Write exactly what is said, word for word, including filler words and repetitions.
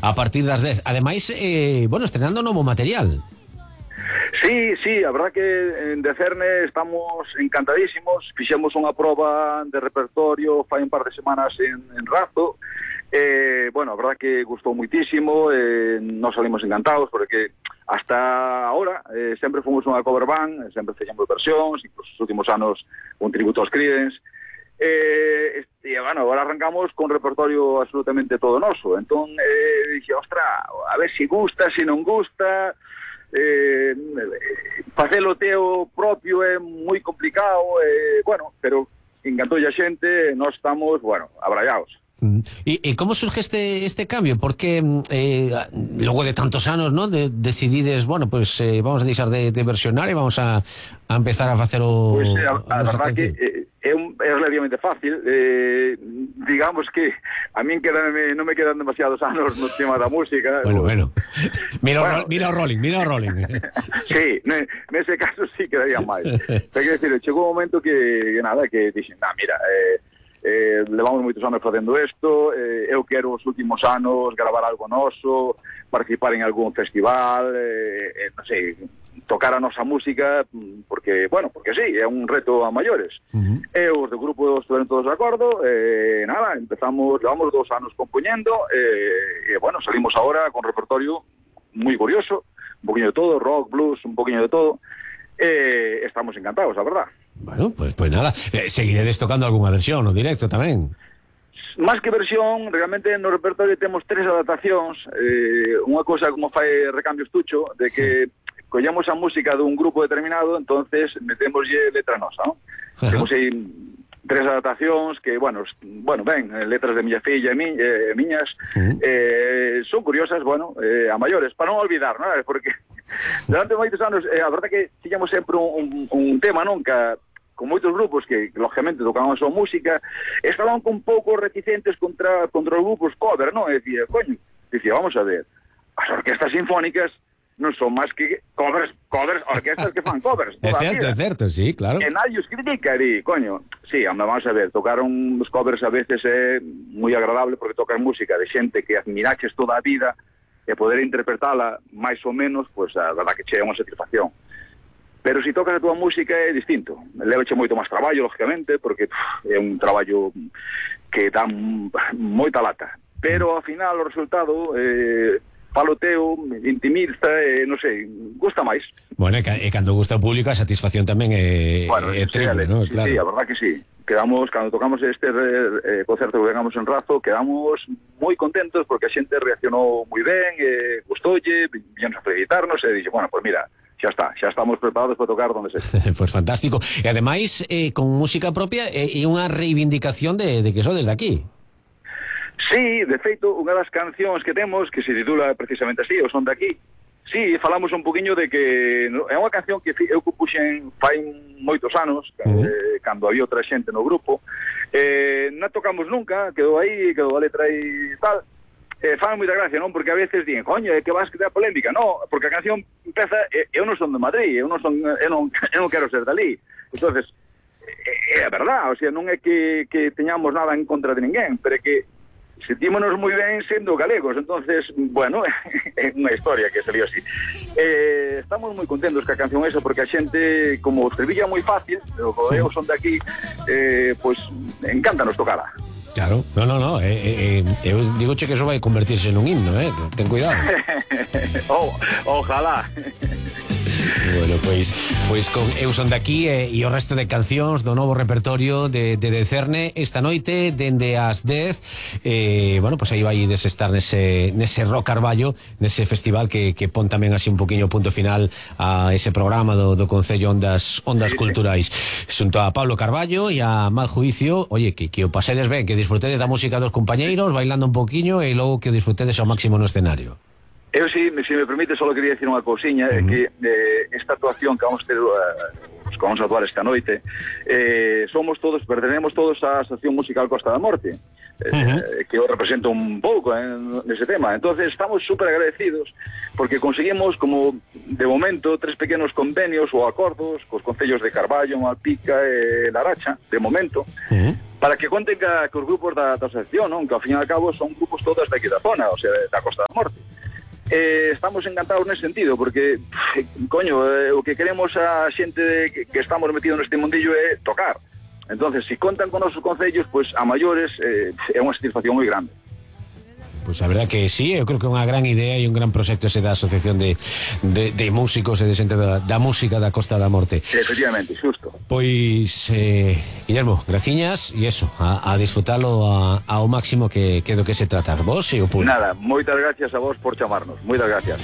a partir das dez. Ademais, eh, bueno, estrenando novo material. Sí, sí, a verdad que en Decerne estamos encantadísimos. Fixemos unha proba de repertorio fai un par de semanas en, en Razo. Eh, bueno, a verdad que gustou muitísimo, eh, nos salimos encantados porque hasta ahora eh, sempre fomos unha cover band, sempre fixemos versións, incluso os últimos anos un tributo aos Creedence. Eh, e, bueno, agora arrancamos con repertorio absolutamente todo noso. Entón, eh, dixo, ostra, a ver se si gusta, se si non gusta. Eh, facelo teo propio é moi complicado, eh, bueno, pero encantoulle a xente, nós estamos, bueno, abrallados. E, e como surge este este cambio? Porque eh, logo de tantos anos, ¿no? De, decidides, bueno, pues eh, vamos a deixar de, de versionar e vamos a, a empezar a facer o... Pois pues, a, a, a verdad que eh, é, un, é relativamente fácil, eh, digamos que a min quedan, non me quedan demasiados anos no tema da música. Bueno, pues, bueno, mira, bueno, o, mira o rolling, mira o rolling. Sí, nese caso sí quedaría máis. Pero quero dicir, chegou un momento que, que nada, que dixen, nah, mira, eh, Eh, levamos moitos anos facendo isto, eh, eu quero os últimos anos gravar algo noso, participar en algún festival, eh, eh, non sei, tocar a nosa música, porque, bueno, porque sí, é un reto a maiores. Uh-huh. E os do grupo estiveron todos de acordo, eh, nada, empezamos, levamos dos anos compoñendo, e, eh, bueno, salimos ahora con repertorio moi curioso, un poquinho de todo, rock, blues, un poquinho de todo, e eh, estamos encantados, a verdad. Bueno, pues, pues nada, eh, seguiredes tocando algunha versión no directo tamén. Más que versión, realmente no repertorio temos tres adaptacións, eh, unha cosa como fai Recambio Estucho, de que collamos a música dun grupo determinado, entonces metémoslle letra nosa, ¿no? Temos aí tres adaptacións que, bueno, bueno, ben, letras de miña filla e mi, eh, miñas, uh-huh. eh, son curiosas, bueno, eh, a maiores, para non olvidar, ¿no? Porque durante moitos anos, eh, a verdade que tiñamos sempre un, un, un tema, non? Que con moitos grupos que, lógicamente, tocaban a súa música, estaban un pouco reticentes contra, contra os grupos cover, non? E dicía, coño, dicía, vamos a ver, as orquestas sinfónicas non son máis que covers, covers, orquestas que fan covers. É certo, é certo, sí, claro. E nadie os critica, di, coño, sí, vamos a ver, tocar uns covers a veces é moi agradable porque tocan música de xente que admiraches toda a vida e poder interpretala máis ou menos, pois pues, a verdad que che é unha satisfacción. Pero se si tocas a tua música é distinto. Levache moito máis traballo, lógicamente, porque pff, é un traballo que dá moita lata. Pero, ao final, o resultado, eh, falo teo, intimista, eh, non sei, gusta máis. Bueno, e, e cando gusta o público, a satisfacción tamén é, bueno, é triple, sí, ¿no? Sí, claro. Sí, a verdad que sí. Quedamos, cando tocamos este eh, concerto que tengamos en Razo, quedamos moi contentos porque a xente reaccionou moi ben, eh, gustoulle, viñonos a felicitarnos e dixe, bueno, pues mira, xa está, xa estamos preparados para tocar donde se. Pois pues fantástico. E ademais, eh, con música propia e eh, unha reivindicación de, de que sodes de aquí. Sí, de feito, unha das cancións que temos, que se titula precisamente así, o son de aquí, sí, falamos un poquinho de que é unha canción que eu compuxen fai moitos anos, uh-huh. eh, cando había outra xente no grupo, eh, non tocamos nunca, quedou aí, quedou a letra aí e tal. Eh, fan moita gracia, non? Porque a veces dicen, coño, é que vas que te da polémica. No, porque a canción empeza, eh, eu non son de Madrid, eu non son, eu non, eu non quero ser dali. Entonces, é eh, a verdad, o sea, non é que, que teñamos nada en contra de ninguén, pero é que sentímonos moi ben sendo galegos. Entonces, bueno, é unha historia que salió así. Eh, estamos moi contentos ca canción esa, porque a xente, como o estribillo é moi fácil, o eu son de aquí, eh, pois, pues, encántanos tocala. Claro, no, no, no, eh, eh, eu digo che que eso vai convertirse nun himno, eh, ten cuidado. oh, ojalá. Bueno, pois, pois con Eu son de aquí e, e o resto de cancións do novo repertorio de, de Decerne esta noite, dende as dez, eh, bueno, pois aí vai desestar nese, nese Rock Carballo, nese festival que, que pon tamén así un poquinho punto final a ese programa do, do Concello Ondas, Ondas sí, Culturais. Sí. Xunto a Pablo Carballo e a Mal Juicio, oye, que, que o pasedes ben, que disfrutedes da música dos compañeiros, bailando un poquinlo e logo que o disfrutedes ao máximo no escenario. Eu, si, se me permite, só quería decir unha cousiña, uh-huh. que eh, esta actuación que vamos ter, uh, que vamos a actuar esta noite, eh, somos todos, pertenecemos todos á Asociación Musical Costa da Morte, eh, uh-huh. que eu represento un pouco eh, nese tema. Entonces estamos super agradecidos porque conseguimos, como de momento, tres pequenos convenios ou acordos cos concellos de Carballo, Malpica e Laracha, de momento, uh-huh. para que conten ca, que os grupos da, da asociación, non? Que ao fin e ao cabo son grupos todos daqui da zona, o sea, da Costa da Morte. Eh, estamos encantados nese sentido, porque, pff, coño, eh, o que queremos a xente que, que estamos metidos neste mundillo é tocar. Entonces, se si contan con nosos concellos, pues a maiores eh, é unha satisfacción moi grande. Pois a verdad que sí, eu creo que é unha gran idea e un gran proxecto ese da Asociación de, de, de Músicos e de xente da, da música da Costa da Morte. Efectivamente, xusto. Pois, eh, Guillermo, graciñas e eso, a, a disfrutalo a, ao máximo que, que do que se trata vos e o público. Nada, moitas gracias a vos por chamarnos, moitas gracias.